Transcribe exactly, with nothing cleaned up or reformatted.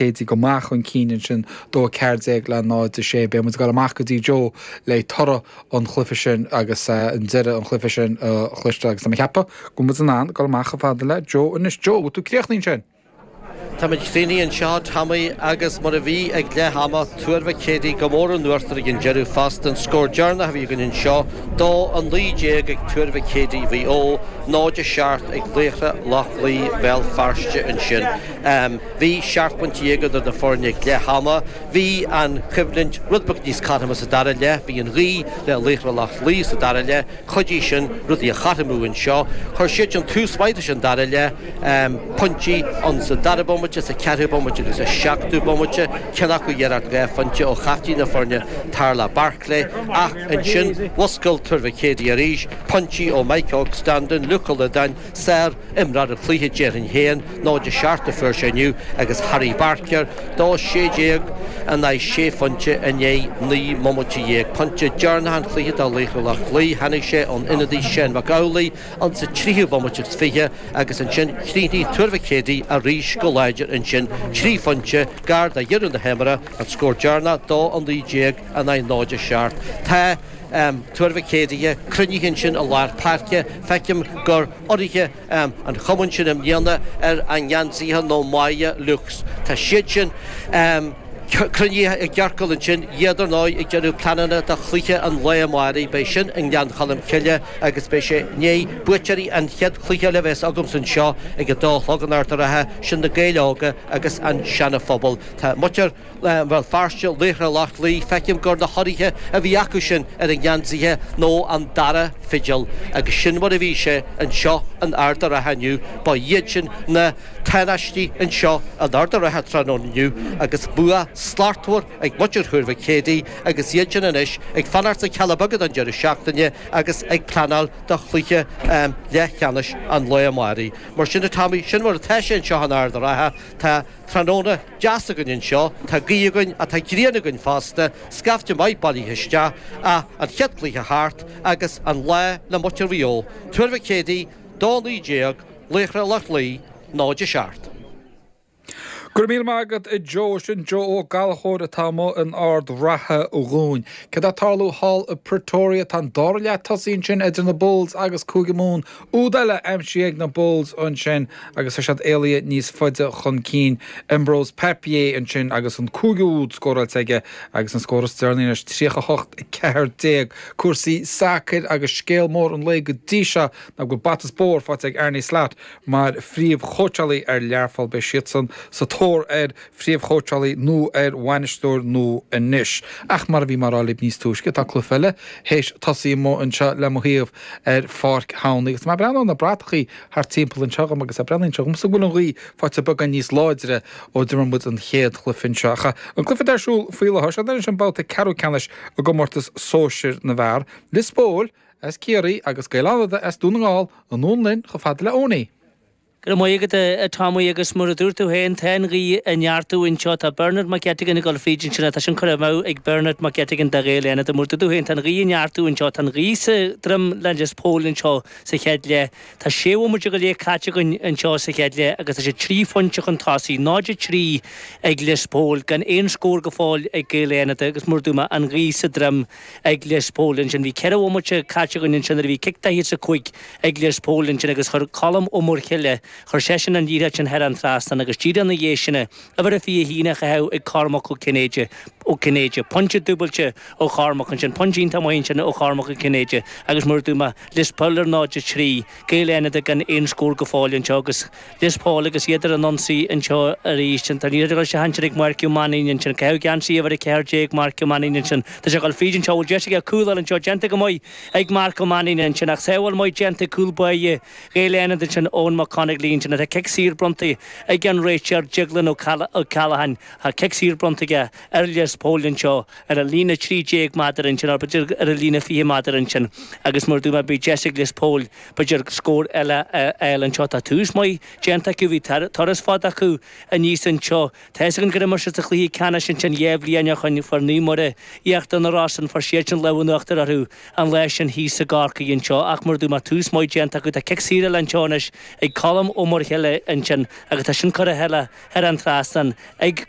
Céadaí go maith chun cinn ansin dó a ceathair déag le náid a sé. Beidh muid ag dul amach go dtí Joe le toradh an chluiche sin agus an deireadh an chluiche sin a chloisteáil agus tá mé ag ceapadh go bhfuil muid in ann dul amach chomh fada le Joe anois. Joe, bhfuil tú críochnaithe ansin? Táimid críochnaithe anseo, Tommy, agus mar a bhí ag leath ama, Tuar Mhic Éadaigh go mór in uachtar ag an deireadh fosta. An scór deireanach a bhí againn anseo, dó a naoi déag ag Tuar Mhic Éadaigh Mhaigh Eo, náid a seacht ag Laochra Loch Lao Bhéal Feirste ansin. Bhí seacht bpointe dhéag idir na foirne ag leath ama. Bhí an choimhlint rud beag níos cothroime sa dara leath. Bhí an ghaoth le Laochra Loch Lao sa dara leath. Chuidigh sin rudaí a chothromú anseo. Chuir siad sin tús maith leis an dara leath. Pointí ann sa dara bomaite, sa cheathrú bomaite agus sa seachtú bomaite, ceann acu iarracht dhá phointe ó chaptaen na foirne Tarlach Barclay, ach ansin mhuscail Tuar Mhic Éadaigh arís, pointí ó Mike Óg Standún, Luke Ó Loideáin, sár-imreoir an chluiche déarfainn féin, náid a seacht a fuair sé inniu, agus Harry Barker, dó sé déag in aghaidh sé phointe i ndiaidh naoi mbomaite dhéag. Pointe deireanach an chluiche do Laochra Loch Lao, tháinig sé ón ionadaí Shane Mac Amhlaigh, An sa tríú bomaite is fiche agus ansin chríochnaigh Tuar Mhic Éadaigh arís go láidir ansin, trí phointe gar do dheireadh na himeartha, an scór deireanach dó a naoi déag in aghaidh náid a seacht. Tá Tuar Mhic Éadaigh cruinnithe ansin i lár páirce. Feicim gur urraithe an chumainn sin i mbliana ar a ngeansaithe nó Máighe Lux. Tá siad sin. Cruinnithe i gciorcal ansin, iad ar ndóigh ag déanamh pleananna do chluiche an lae amáirigh. Beidh sin i nGleann Cholm Cille agus beidh sé i ndiaidh buaiteoirí an chéad chluiche eile a bheas agamsa anseo ag a dó a chlog in Ard an Rátha, sin na Gaeil Óga agus an Seana Phobal. Tá muintir Bhéal Feirste, Laochra Loch Lao, feicim gur na hurraithe a bhí acu sin ar a ngeansaithe nó an dara fidil agus sin mar a bhí sé anseo in Ard an Rátha inniu. Ba iad sin na. Tánaistí anseo in Ard an Rátha tráthnóna inniu agus bua slachtmhar ag muintir Thuar Mhic Éadaigh agus iad sin anois ag fanacht sna Cealla Beaga don deireadh seachtaine agus ag pleanáil do chluiche leathcheannais an lae amáirigh. Mar sin a Tommy, sin mar atá sé anseo in Ard an Rátha. Tá tráthnóna deas againn anseo, tá gaoth againn ach tá grian againn fosta, scaifte maith bailithe isteach ach an chéad chluiche thart agus an lá le muintir Mhaigh Eo. Tuar Mhic Éadaigh, dó naoi déag, Laochra Loch Lao, náid a seacht. Go raibh míle maith agat a Joe. Sin Joe Ó Gallchóir atá amuigh in Ard Ratha dhúinn. Céard atá ag tarlú thall i Pretoria? Tá an dara leath tosaithe ansin idir na Bulls agus Cúige Mumhan. Úd eile aimsithe ag na Bulls ansin agus tá siad éalaithe níos faide chun cinn. Embrose Papier ansin agus an cúigiú úd scóráilte aige agus an scór is deireanaí anois tríocha a hocht a ceathair déag. Cúrsaí sacair agus scéal mór an lae go dtí seo ná go bhfuil bata is bóthar faighte ag Arne Slot mar phríomhchóitseálaí ar Learpholl. Beidh siadsan sa tóir ar phríomhchóitseálaí nó ar bhainisteoir nua anois. Ach mar a bhí mé a rá libh níos túisce, tá cluiche eile théis tosaí amuigh anseo le mo thaobh ar Pháirc Thomhnaigh. Agus tá mé ag breathnú ar na bratachaí thart timpeall anseo dhom agus breathnaíonn sé dhomsa go bhfuil an ghaoth faighte beagán níos láidre ó d'imir muid an chéad chluiche anseo. Ach an cluiche atá ar siúl faoi láthair, seo anois an babhta ceathrú ceannais i gcomórtas sóisir na bhfear. Lios Póil as Ciarraí agus Gaeil Fhánada as Dún na nGall anonn linn chomh fada le Owenie. Go raibh maith agat a Tommy agus mar a dúirt tú féin tá an ghaoth ag neartú anseo. Tá Bernard McGettigan ag dul fríd ansin tá sin curtha amú ag Bernard McGettigan do Ghaeil Fhánada. Mar a dúirt tú féin tá an ghaoth ag neartú anseo. Tá an ghaoth sa droim le Lios Póil anseo sa chéad leath. Tá sé bhomaite go leith caite againn anseo sa chéad leath agus tá sé trí phointe chun tosaigh, náid a trí ag Lios Póil gan aon scór go fóill ag Gaeil Fhánada agus mar a dúirt mé an ghaoth sa droim ag Lios Póil ansin. Bhí ceithre bhomaite caite againn ansin nuair a bhí cic daichead is a cúig ag Lios Póil ansin agus chuir Colm Ó Muirthile, chuir seisean an liathróid sin thar an trasnán agus díreach ina dhiaidh sin, uimhir a fiche a haon á chaitheamh ag Cormac Ó Cinnéide, Ó Cinnéide. Pointe dúbailte ó Chormac ansin, pointe iontach maith ansin ó Chormac Ó Cinnéide agus mar a dúirt mé, Lios Póil ar náid a trí, Gaeil Fhánada gan aon scór go fóill anseo agus Lios Póil agus iad ar an ionsaí anseo arís. Tá an liathróid ag dul isteach ansin ag Mark Ó Mainnín ansin. Caitheadh geansaí uimhir a ceathair déag Mark Ó Mainnín ansin. Tá sé ag dul fríd anseo. Bhfuil deis aige cúl a fháil anseo. Déanta go maith ag Mark Ó Mainnín ansin ach sábháil maith déanta ag cúl báire Ghaeil Fhánada ansin Eoin Mac Conaglaigh ansin. Tá cic saor bronnta ag an réiteoir Deaglán Ó Ceallacháin. Tá cic saor bronnta aige ar Lios Póil anseo ar an líne trí déag méadar ansin, nó b'fhéidir ar an líne fiche méadar ansin agus mar a dúirt mé beidh deis ag Lios Póil b'fhéidir scór eile a fháil anseo. Tá tús maith déanta acu, bhí turas fada acu aníos anseo. Tá fhios againn gur imir siad sa chluiche ceannais ansin dhá bhliain ó shoin, fuair Naomh Muire Íochtar na Rosann, fuair siadsan lámh in uachtar orthu an lá sin thíos i gCorcaigh anseo ach mar a dúirt mé tús maith déanta acu. Tá cic saor eile anseo anois ag Colm Ó Muirthile ansin agus tá sin curtha thar an trasnán ag